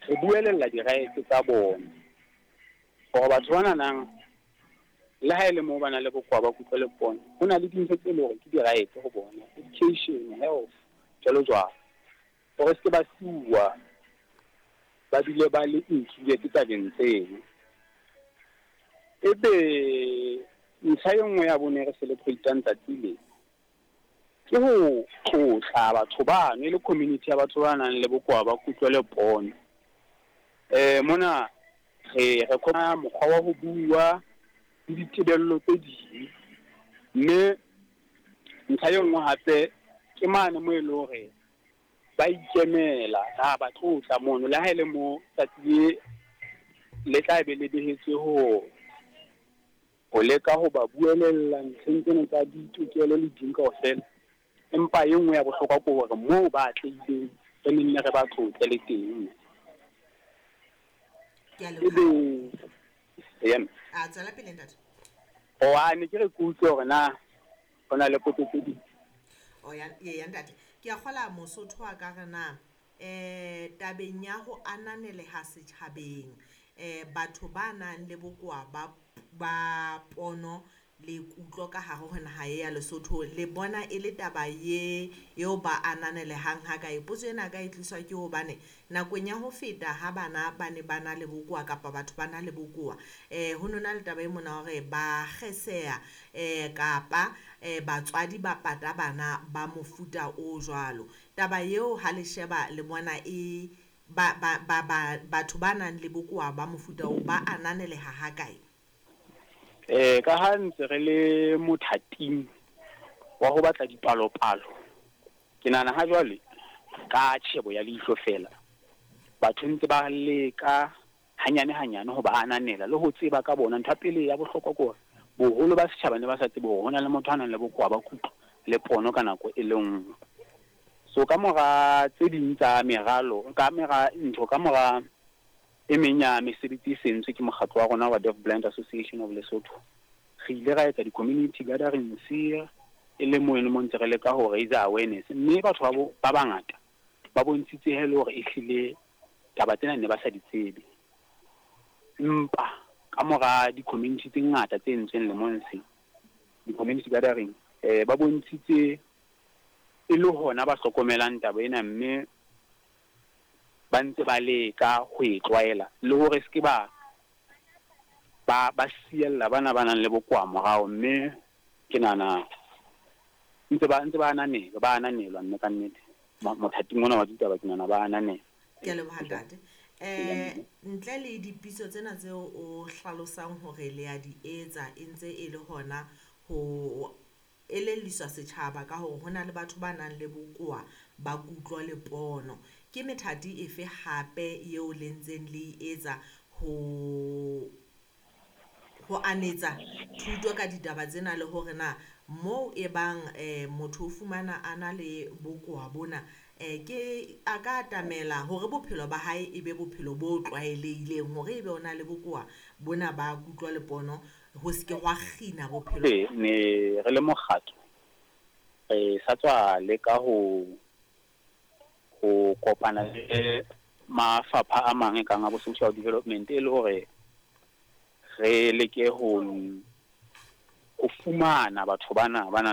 Re buelella di-rights tsa bona hore batho ba nanang le ha e le moo ba na le bokowa ba kutlo le pono, ho na le dintho tse leng hore ke di-rights ho bona, education, health, jwalo jwalo, hore se ke ba siuwa ba bile ba le included tabeng tseno. Ebe ntlha e nngwe ya bone re celebrate-ang tsatsi le, ke ho tlotla batho bano e le community ya batho ba nang le bokowa ba kutlo le pono. Mona re re khona mokgwa wa ho bua le ditebello tse ding, mme ntlha e nngwe hape ke mane moo e le hore ba ikemela, ra ba tlotla mono, le ha e le mo tsatsi le le tla be le behetswe ho leka ho ba buelella ntlheng tsena tsa ditokelo le ding kaofela. Empa e nngwe ya bohlokwa ke hore moo ba atlehileng re nenne re ba tlotle le teng. Ke a Ebe leboha. eya mme. A tswela pele, ntate. O ne ke re ke utlwe hore na ho na le potso tse ding. O ya ya ntate. Ke a kgola Mosotho a ka re na tabeng ya ho ananeleha setjhabeng, batho ba nang le bokowa ba pono le kutlo ka hare ho naha ya Lesotho, le bona e le taba ye eo ba ananelehang ha kae? Potso ena ka e tliswa ke hobane nakong ya ho feta ha bana ba ne ba na le bokowa kapa batho ba na le bokowa, ho nona le taba e mona hore ba kgeseha, kapa batswadi ba pata bana ba mofuta o jwalo. Taba eo ha le sheba le bona e ba ba ba ba batho ba nang le bokowa ba mofuta oo ba ananeleha ha kae? Ka ha ntse re le mothating wa ho batla dipalopalo, ke nahana ha jwale ka tjhebo ya leihlo fela, batho ntse ba leka hanyane hanyane ho ba ananela le ho tseba ka bona. Ntho ya pele ya bohlokwa ke hore boholo ba setjhaba ne ba sa tsebe hore ho na le motho a nang le bokowa ba kutlo le pono ka nako e le nngwe. So ka mora tse ding tsa meralo, ka mora ntho, ka mora e meng ya mesebetsi e sentswe ke mokgatlo wa rona wa Deaf Blind Association of Lesotho, re ile ra etsa di-community gatherings e le mo e le mo ntse re leka ho raise awareness, mme batho ba bangata ba bontshitse he le hore ehlile taba tsena ne ba sa di tsebe. Empa ka mora di-community tse ngata tse entsweng lemong se, di-community gathering, ba bontshitse e le hona ba hlokomelang taba ena, mme ba ntse ba leka ho e tlwaela le hore se ke ba ba siella bana ba nang le bokowa morao. Mme ke nahana ntse ba ananelwa, ba ananelwa, mme ka nnete mothating ona wa ditaba ke nahana ba ananelwa. Ke a leboha, ntate. Ntle le dipitso tsena tseo o hlalosang hore le a di etsa, e ntse e le hona ho elelliswa setjhaba ka hore hona le batho ba nang le bokowa ba kutlo le pono, ke methati efe hape eo le ntseng le e etsa ho anetsa thuto ka ditaba tsena, le hore na moo e bang motho o fumana a na le bokowa bona, ke a ka atamela hore bophelo ba hae e be bophelo bo tlwaelehileng, hore ebe o na le bokowa bona ba kutlo le pono ho se ke hwa kgina bophelo? Ne re le mokgatlo re sa tswa leka ho kopana le mafapha a mang e kang a bo social development, e le hore re leke ho fumana batho bana ba nang